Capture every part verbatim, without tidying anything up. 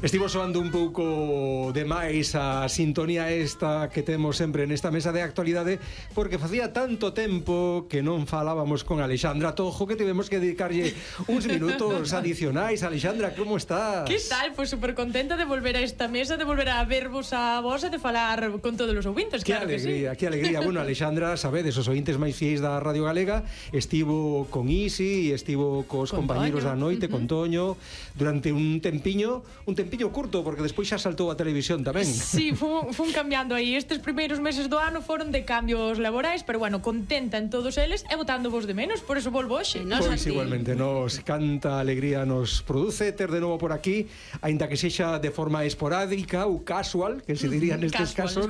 Estivo soando un pouco de máis a sintonía esta que temos sempre nesta mesa de actualidade, porque facía tanto tempo que non falábamos con Alexandra Tojo que tivemos que dedicarlle uns minutos adicionais. Alexandra, como estás? Que tal? Pois pues super contenta de volver a esta mesa, de volver a vervos a vos e de falar con todos os ouvintes, que claro alegría, que sí. Que alegría. Bueno, Alexandra, sabedes, os ouvintes máis fiéis da Radio Galega, estivo con Isi, estivo cos con compañeros Toño. da noite, uh-huh. con Toño, durante un tempiño, un tempiño curto, porque despois xa saltou a televisión tamén. Sí, fun, fun cambiando aí. Estes primeiros meses do ano foron de cambios laborais, pero bueno, contenta en todos eles e botando vos de menos, por eso volvo hoxe. Pois pues igualmente, nos canta alegría nos produce ter de novo por aquí, aínda que sexa de forma esporádica ou casual, que se diría nestes casos.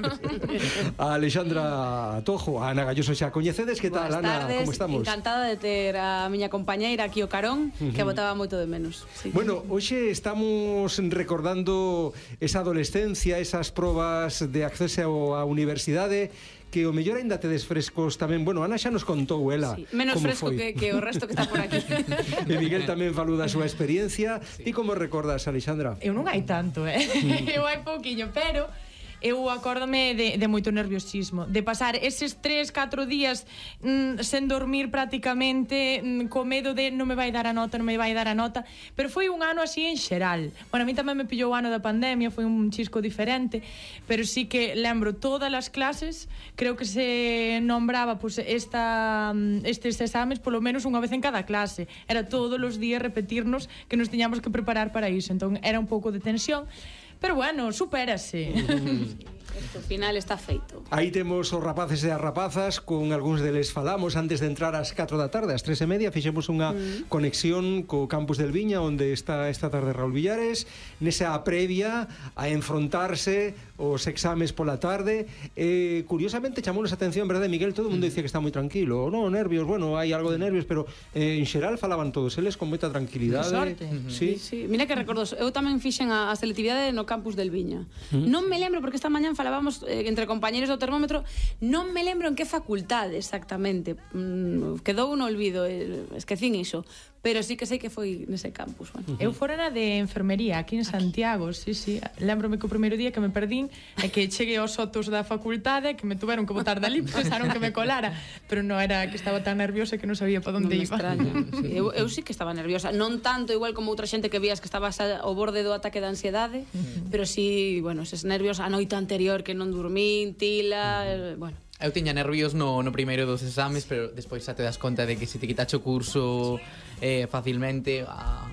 A Alexandra Tojo, a Ana Galloso xa coñecedes. Que tal, Buenas Ana? tardes, Como estamos? Encantada de ter a miña compañeira aquí o carón, uh-huh. que botaba moito de menos. Sí. Bueno, hoxe estamos recordando esa adolescencia, esas probas de acceso á universidade, que o mellor aínda tedes frescos tamén. Bueno, Ana xa nos contou ela sí, menos como fresco foi. que, que o resto que está por aquí. E Miguel tamén falou da súa experiencia. Ti sí. Como recordas, Alexandra? Eu non hai tanto, eh? Eu hai pouquiño, pero eu acórdame de, de moito nerviosismo, de pasar eses tres, catro días mm, sen dormir prácticamente, mm, co medo de non me vai dar a nota, non me vai dar a nota, pero foi un ano así en xeral. Bueno, a mí tamén me pillou o ano da pandemia, foi un chisco diferente, pero sí que lembro todas as clases, creo que se nombraba pues, esta, estes exames polo menos unha vez en cada clase, era todos os días repetirnos que nos tiñamos que preparar para iso, entón era un pouco de tensión. Pero bueno, supérase. Isto ao final está feito. Aí temos os rapaces e as rapazas, con algúns deles falamos antes de entrar ás catro da tarde, ás tres e media fixemos unha mm. conexión co campus del Viña, onde está esta tarde Raúl Villares, nesa previa a enfrontarse os exames pola tarde. Eh, curiosamente chamounos a atención, verdade, Miguel? Todo o mundo dicía que está moi tranquilo. No, nervios, bueno, hai algo de nervios, pero eh, en xeral falaban todos eles con moita tranquilidade. Sorte. Sí. Sí, mira que recordo, eu tamén fixen a, a selectividade no campus del Viña. Mm. Non me lembro, porque esta mañán falábamos eh, entre compañeros do termómetro, non me lembro en que facultade exactamente. Mm, quedou un olvido, eh, esquecín iso, pero sí que sei que foi nese campus. Bueno. Uh-huh. Eu fora na de enfermería aquí en Santiago, sí, sí. Lembrome que o primeiro día que me perdín é que cheguei aos sotos da facultade, que me tuveron que botar dali, pensaron que me colara, pero non era que estaba tan nerviosa que non sabía para onde non iba. Extraña. Sí, eu, eu sí que estaba nerviosa, non tanto igual como outra xente que vías que estabas ao borde do ataque de ansiedade, uh-huh. pero sí, bueno, eses nervios a noite anterior que non dormín, tila, uh-huh. bueno. Eu tiña nervios no, no primeiro dos exames, pero despois xa te das conta de que se te quitache o curso eh, facilmente a, a